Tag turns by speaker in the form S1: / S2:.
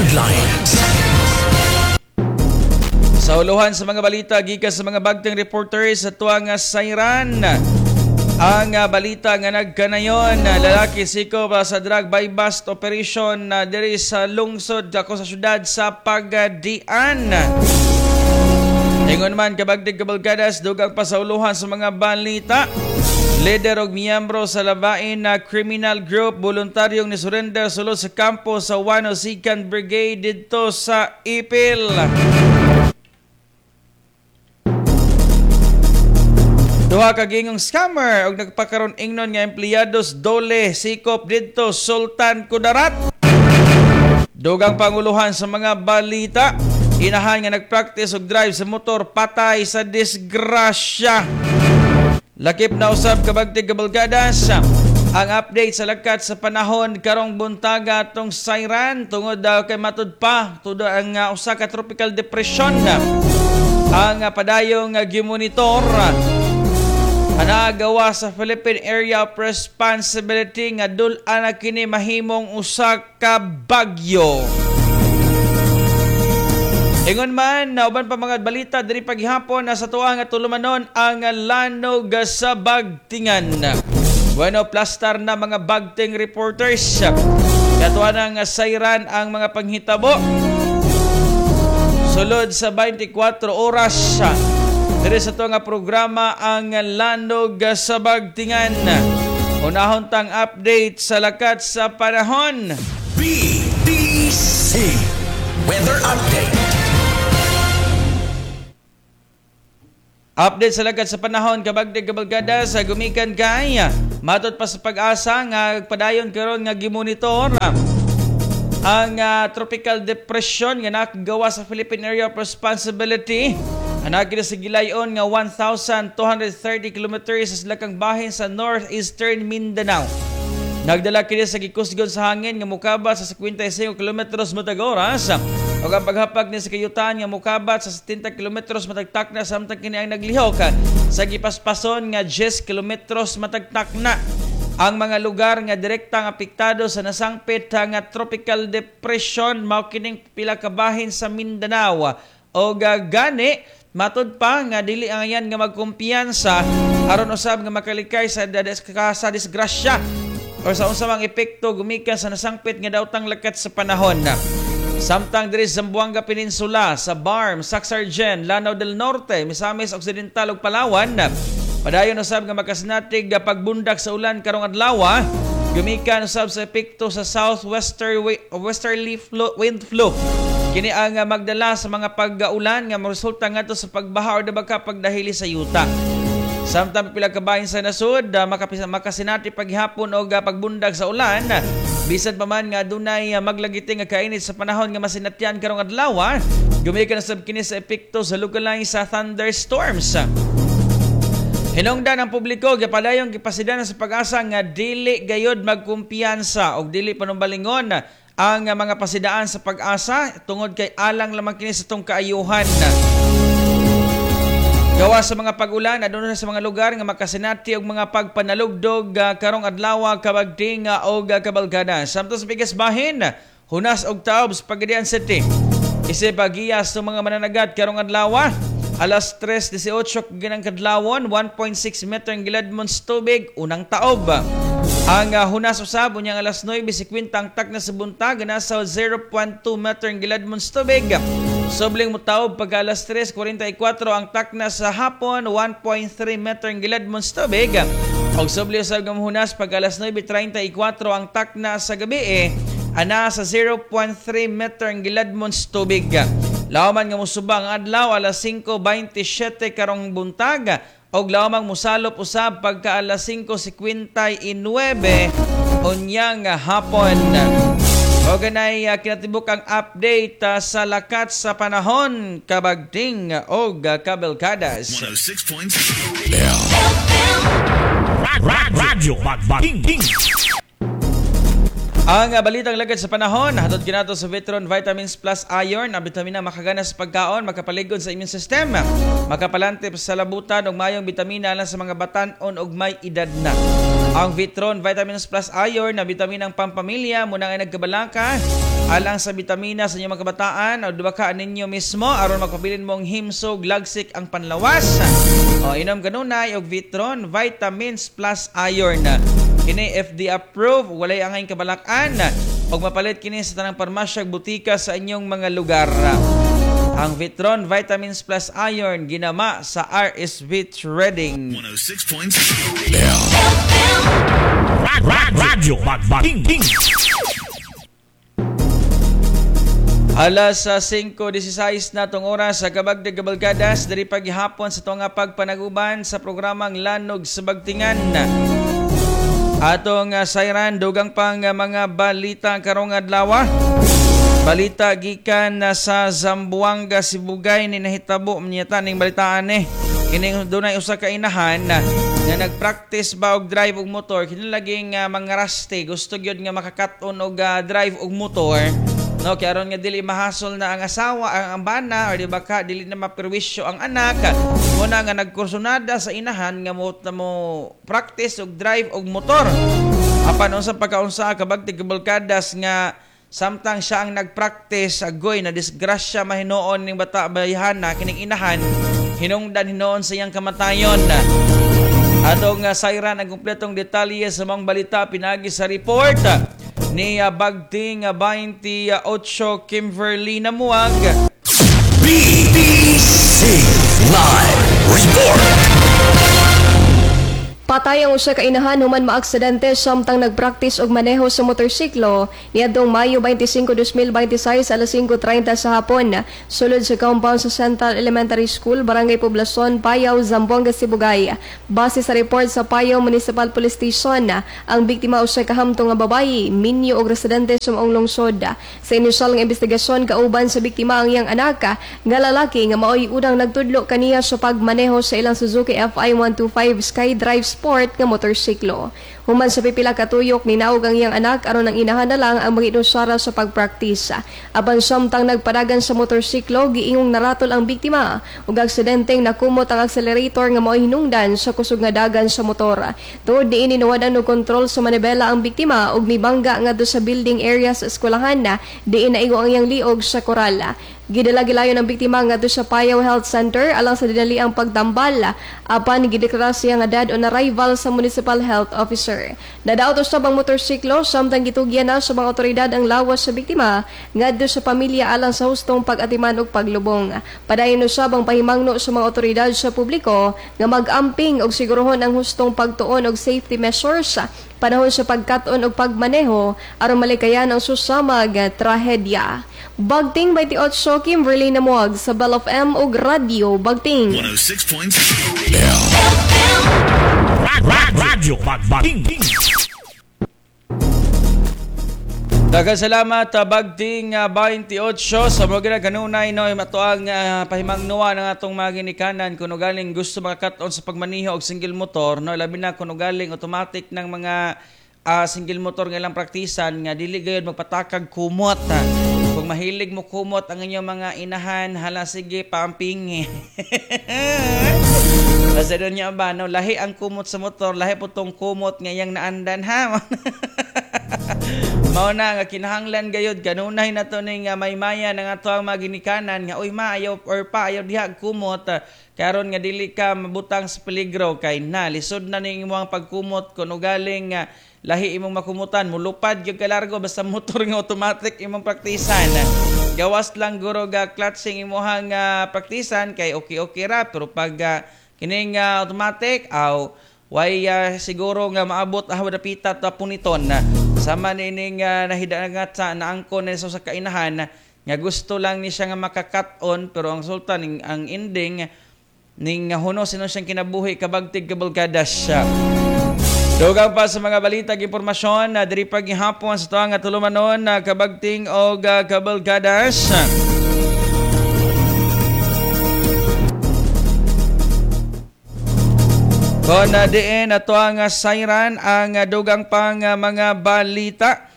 S1: Headlines.
S2: Sa uluhan sa mga balita gikan sa mga bagteng reporters sa tuwa nga sayran. Ang balita nga nagkanayon, lalaki sikop sa drug buy bust operation diri sa lungsod ako sa syudad sa Pagadian. Ingon man, kabagdig kabalkadas, dugang pasauluhan sa mga balita. Leader og miyembro sa labain na criminal group voluntaryong nisurrender sulod sa kampo sa 102nd Brigade didto sa Ipil. Duha ka gingong scammer og nagpakaron ingnon nga empleyados dole sikop didto Sultan Kudarat. Dugang panguluhan sa mga balita, inahan nga nagpractice og drive sa motor patay sa disgrasya. Lakip na usab, kabagtig kabalgadas, ang update sa lakat sa panahon karong buntaga atong sayran tungod daw kay matud pa tudo ang usa ka tropical depression ang padayong gimonitor anagawa sa Philippine Area of Responsibility nga dul-an na kini mahimong usa ka bagyo. Ingon man, nauban pa mga balita diri paghihapon na sa tuwa nga tulumanon ang lanog sa Bagtingan. Bueno, plastar na mga bagting reporters. Katuwa ng sayran ang mga panghitabo sulod sa 24 oras. Diri sa tuwa nga programa ang lanog sa Bagtingan. Unahon tang update sa lakat sa panahon.
S1: BBC Weather Update.
S2: Update sa lakat sa panahon kabagdig kabalgada sa gumikan kay matod pa sa Pag-asa nga padayon karon nga gimonitor ang tropical depression nga nakagawa sa Philippine Area of Responsibility. Anagi na sa gilayon nga 1,230 kilometers sa silakang bahin sa northeastern Mindanao. Nagdala kini sa gikusgon sa hangin nga mukabat sa 55 kilometros matag oras ug ang paghapag ni sa kayutan nga mukabat sa 70 kilometros matag takna samtang kini ang naglihok sa gipaspason nga 10 kilometros matag takna. Ang mga lugar nga direktang apektado sa nasangpit nga tropical depression mao kining pila ka bahin sa Mindanao. Og gani matud pa nga dili ang ayan nga magkumpiyansa aron usab nga makalikay sa disgrasya o sa unsa mang epekto gumikan sa nasangpit nga daotang lakat sa panahon. Samtang diri sa Zamboanga Peninsula, sa Barm, Saxargen, Lanao del Norte, Misamis Occidental ug Palawan, padayon usab nga makasinati pagbundak sa ulan karong adlaw, gumikan usab sa epekto sa southwesterly westerly flow, wind flow. Kini ang magdala sa mga pag-ulan nga moresulta ngadto sa pagbaha or dabaka pagdahili sa yuta. Samtang pila ka bahin sa nasod makasinati paghapon og pagbundag sa ulan, bisan pa man nga adunay maglagiti nga kainit sa panahon nga masinatyan karong adlaw, gumikan usab kini sa epekto sa localized sa thunderstorms. Hinungdan ang publiko gipadayong gipasidan sa Pag-asa nga dili gayod magkumpiyansa og dili panumbalingon ang mga pasidaan sa Pag-asa tungod kay alang lamang kini sa tong kaayuhan. Gawa sa mga pag-ulan aduna sa mga lugar nga makasinati og mga pagpanalugdog karong adlaw, kabagting og kabalgada. Samtang sa pikas bahin, hunas og taob sa Pagadian City. Isip giya sa mga mananagat karong adlaw, alas 3:18 ginang kadlawon, 1.6 meter ang giladmon sa tubig unang taob. Ang hunas usab unyang alas 9:50 ang takna sa buntag nasa 0.2 meter ang giladmon sa tubig. Sobling mutaob pag alas 3:44 ang takna sa hapon, 1.3 meter ang giladmon sa tubig. Og sobli usab nga hunas pag alas 9:34 ang takna sa gabi ana sa 0.3 meter ang giladmon sa tubig. Lawman nga mosuba ang adlaw alas 5:27 karong buntag og lawmang mosalop usab pagka alas 5:59 unyang hapon. O ganay kinatibuk ang update sa lakat sa panahon kabagting og kabelkadas.
S1: 106.7
S3: Radyo Bagbagting.
S2: Ang balitang lagad sa panahon, hatod kinato sa Vitron Vitamins Plus Iron, ang bitamina makagana sa pagkaon, makapaligod sa immune system, makapalantip sa labutan ug mayong bitamina alang sa mga batan-on ug may edad na. Ang Vitron Vitamins Plus Iron na bitaminang pampamilya muna nga nagkabalaka alang sa bitamina sa inyong mga kabataan o duwa ninyo mismo aron magpabilin mong himsog lagsik ang panlawas. O inom kanunay og Vitron Vitamins Plus Iron. Kini FDA approved, walay angay kabalakan. Og mapalit kini sa tanang parmasya ug butika sa inyong mga lugar. Ang Vitron Vitamins Plus Iron ginama sa RSV Trading.
S1: 106.7.
S3: Radyo Bagbating.
S2: Alas sa 5:16 na tong oras sa Kabagdag Kabalkadas, diri paghihapon sa tuong pagpanaguban sa programang Lanog sa Bagtingan. Atong sayran dugang pang mga balita karong adlaw. Balita gikan sa Zamboanga, Sibugay ni nahitabo niya ning balitaan eh. Kining dunay usa ka inahan nga nagpractice ba og drive og motor, kini laging mga raste gusto gyud nga makakat-on og drive og motor. No, kay aron nga dili mahasol na ang asawa, ang bana, or di ba ka dili na maperwisyo ang anak. Muna nga nagkursunada sa inahan nga mo practice og drive og motor. Apan unsa pagkaunsa kabagtig kabalkadas nga samtang siya ang nagpractice, agoy na disgrasya mahinuon ning bata bayhana kining inahan, hinungdan hinuon sa iyang kamatayon. Atong sayran ang kumpletong detalye sa mga balita pinagi sa report ni Bagting 28 Kimberly Namuag.
S1: BBC Live Report.
S4: Patay ang usa ka inahan human maaksidente samtang nagpraktis og maneho sa motorsiklo niadtong Mayo 25, 2026 alas 5:30 sa hapon sulod sa compound sa Central Elementary School, Barangay Poblacion, Payao, Zamboanga, Sibugay. Base sa report sa Payao Municipal Police Station, ang biktima usa ka hamtong nga babayi, minyo og residente sa maong lungsod. Sa inisyal nga investigasyon, kauban sa biktima ang iyang anak nga lalaki nga maoy unang nagtudlo kaniya sa pagmaneho sa ilang Suzuki FI 125 SkyDrive Sport nga motorsiklo. Human sa pipila katuyok, ninaog ang iyang anak aron ang inahan na lang ang magiinusara sa pagpraktis. Apan samtang nagpadagan sa motorsiklo, giingong naratol ang biktima ug aksidenteng nakumot ang accelerator nga maoy hinungdan sa kusog nga dagan sa motor. Tuod niini nawadan og kontrol sa manibela ang biktima ug mibangga ngadto sa building area sa eskwelahan na diin naigo ang iyang liog sa koral. Gidala gilayon ang biktima ngadto sa Payao Health Center alang sa dinaliang pagtambal, apan gideklara siya nga dead on arrival sa Municipal Health Officer. Nadaot usab ang motorsiklo samtang gitugyan na sa mga otoridad ang lawas sa biktima ngadto sa pamilya alang sa hustong pag-atiman ug paglubong. Padayon usab ang pahimangno sa mga otoridad sa publiko nga mag-amping og siguruhon ang hustong pagtuon og safety measures panahon sa pagkat-on og pagmaneho aron malikayan ang susamag trahedya. Bagting 28, Kimberly Namuag sa Bell of M ug Radio Bagting.
S1: 106.7.
S3: Radyo Bagbating.
S2: Daghang salamat Bagting 28 sa mga kanunay no ato ang pahimangnoa ng atong mga ginikanan kuno galing gusto makakat-on sa pagmaniho og single motor no, labi na kuno galing automatic ng mga single motor nga ilang praktisan nga dili gayud magpatakag kumot. Kung mahilig mo kumot ang inyong mga inahan, hala sige paampingi. Basta doon niya ba, no? Lahi ang kumot sa motor, lahi po tong kumot nga iyang naandan, ha? Mao na nga kinahanglan gayud kanunay na to ning maymaya ng ato ang mga ginikanan nga uy ma ayaw or pa ayaw diha kumot karon nga dili ka mabutang sa peligro kay na lisod na ning imong pagkumot kun ugaling lahi imong makumutan mulupad gyud ka largo basta motor nga automatic imong praktisan. Gawas lang guro ga clutching imong praktisan kay okay okay ra, pero pag kining automatic aw way siguro nga maabot aw dapita ta puniton. Sama nining nahidangat sa naangkon ni sa kainahan nga gusto lang ni siya nga makakat-on, pero ang sultan ning, ang ending ning huno sino siyang kinabuhi kabagtig kabalkadas siya. Dugang pa sa mga balita ug impormasyon na diri paghihapon sa tuang tulumanon na kabagting og kabalkadas. Kon diin ato ang sayran ang dugang pang mga balita.